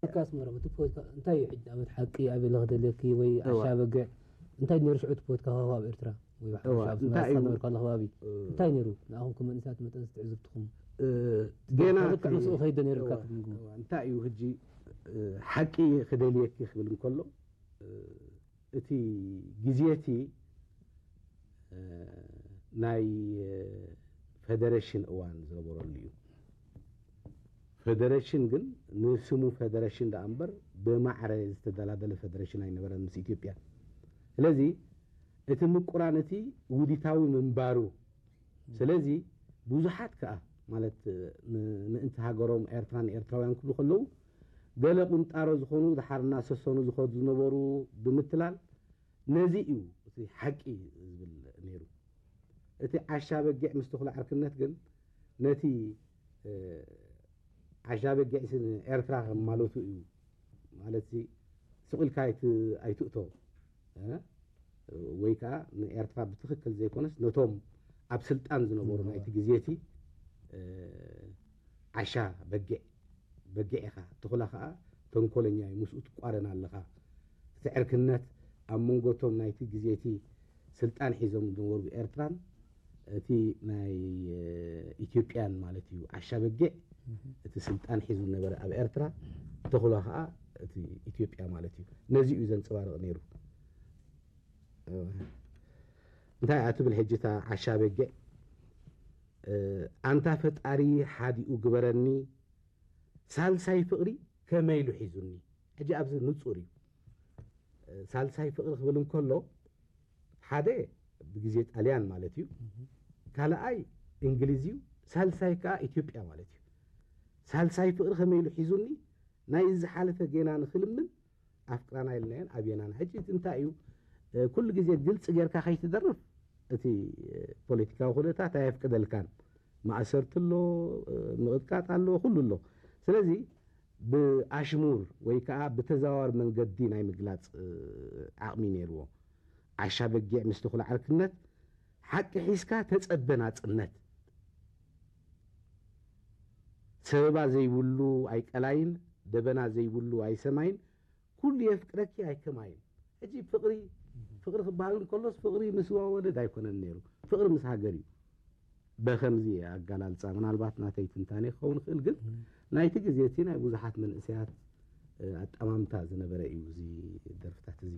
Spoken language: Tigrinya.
ፖለቲካ ኣስመራ፣ እቲ ፖለቲካ እንታይ እዩ ሕጂ? ንኣብነት ሓቂ ኣበይ ለኽደልየኪ ወይ እዋ። ኣሻ በግዕ እንታይ ነይሩ ሽዑ? እቲ ፖለቲካ ከባቢ ኣብ ኤርትራ ወይ እዋ፣ ሓበሻ ኣብ እንታይ እዩ? ዝነበርካሉ ከባቢ እ። እንታይ ነይሩ? ንኣኹም ከም መንእሰያት መጠን ትዕዝብትኹም እ፣ ገና ልክዕ እቲ ምስኡ ከይደ ነይሩካ እዋ፣ ትግምግሙ? እዋ፣ እንታይ እዩ ሕጂ? እ፣ ሓቂ ክደልየኪ ክብል እንከሎ፣ እ፣ እቲ ግዜ እቲ፣ እ፣ ናይ፣ እ፣ ፈደረሽን እዋን ዝነበረሉ እዩ። ፈደረሽን ግን ንስሙ ፈደረሽን ደኣ እምበር ብማዕረ ዝተደላደለ ፈደረሽን ኣይነበረን ምስ ኢትዮጵያ። ስለዚ እቲ ምቁራን እቲ ውዲታዊ ምንባሩ፣ ስለዚ ብዙሓት ከኣ ማለት ን-፣ ምእንቲ ሃገሮም ኤርትራን ኤርትራውያን ክብሉ ከለዉ ገለ ቁንጣሮ ዝኾኑ ድሓር እናሰሰኑ ዝኸዱ ዝነበሩ ብምትላል ነዚ እዩ እቲ ሓቂ ዝብል ነይሩ። እቲ ዓሻ በጊዕ ምስ ተኹላ ዕርክነት ግን ነቲ፣ እ፣ ዓሻ በጊዕ ሲ ኤርትራ ከም ማለቱ እዩ። ማለት ሲ ስቕ ኢልካ ኣይት-፣ ኣይትእቶ፣ እ? ወይ ከኣ ንኤርትራ ብትኽክል ዘይኮነስ ነቶም ኣብ ስልጣን ዝነበሩ ናይቲ ግዜ እቲ፣ እ፣ ዓሻ በጊዕ፣ በጊዕ ኢኻ። ተኹላ ከኣ ተንኮለኛ እዩ፣ ምስኡ ትቋረን ኣለኻ። እቲ ዕርክነት ኣብ መንጎ እቶም ናይቲ ግዜ እቲ ስልጣን ሒዞም ዝነበሩ ኤርትራን እቲ ናይ፣ እ፣ ኢትዮጵያን ማለት እዩ። ዓሻ በጊዕ እቲ ስልጣን ሒዙ ዝነበረ ኣብ ኤርትራ፣ ተኹላ ከኣ እቲ ኢትዮጵያ ማለት እዩ። ነዚ እዩ ዘንጸባርቕ ነይሩ። እ፣ እንታይ እያ ትብል ሕጂ እታ ዓሻ በጊዕ? እ፣ ኣንታ ፈጣሪ ሓዲኡ ግበረኒ፣ ሳልሳይ ፍቕሪ ከመይ ኢሉ ሒዙኒ? ሕጂ ኣብዚ ንጹር እዩ። እ፣ ሳልሳይ ፍቕሪ ክብል እንከሎ፣ ሓደ ብግዜ ጣልያን ማለት እዩ፣ ካልኣይ እንግሊዝ እዩ፣ ሳልሳይ ከኣ ኢትዮጵያ ማለት እዩ። ሳልሳይ ፍቕሪ ከመይ ኢሉ ሒዙኒ? ናይ ዝሓለፈ ጌና ንኽልምን ኣፍቅራና ኢልናየን ኣብየናን። ሕጂ እቲ እንታይ እዩ? እ፣ ኩሉ ግዜ ግልጺ ጌርካ ከይትደርፍ እቲ፣ እ፣ ፖለቲካዊ ኩነታት ኣየፍቅደልካን። ማእሰርቲ ኣሎ፣ እ፣ ምቕጥቃጥ ኣሎ፣ ኩሉ ኣሎ። ስለዚ ብኣሽሙር ወይ ከኣ ብተዘዋዋሪ መንገዲ ናይ ምግላጽ፣ እ፣ ዓቕሚ ነይርዎ። ዓሻ በጊዕ ምስ ተኹላ ዕርክነት፣ ሓቂ ሒዝካ ተጸበ ናጽነት። ሰበባ ዘይብሉ ኣይቀላይን፣ ደበና ዘይብሉ ኣይሰማይን፣ ኩሉ የፍቅረኪ ኣይከማይን። ሕጂ ፍቕሪ፣ ፍቕሪ ክበሃል እንከሎስ ፍቕሪ ምስ ወለድ ኣይኮነን ነይሩ። ፍቕሪ ምስ ሃገር እዩ። በኸምዚ ኣገላልጻ፣ ምናልባት ናተይ ትንታኔ ክኸውን ይኽእል፣ ግን ናይቲ ግዜ እቲ ናይ ብዙሓት መንእሰያት፣ እ፣ ኣጠማምታ ዝነበረ እዩ እዚ ደርፍታት እዚ።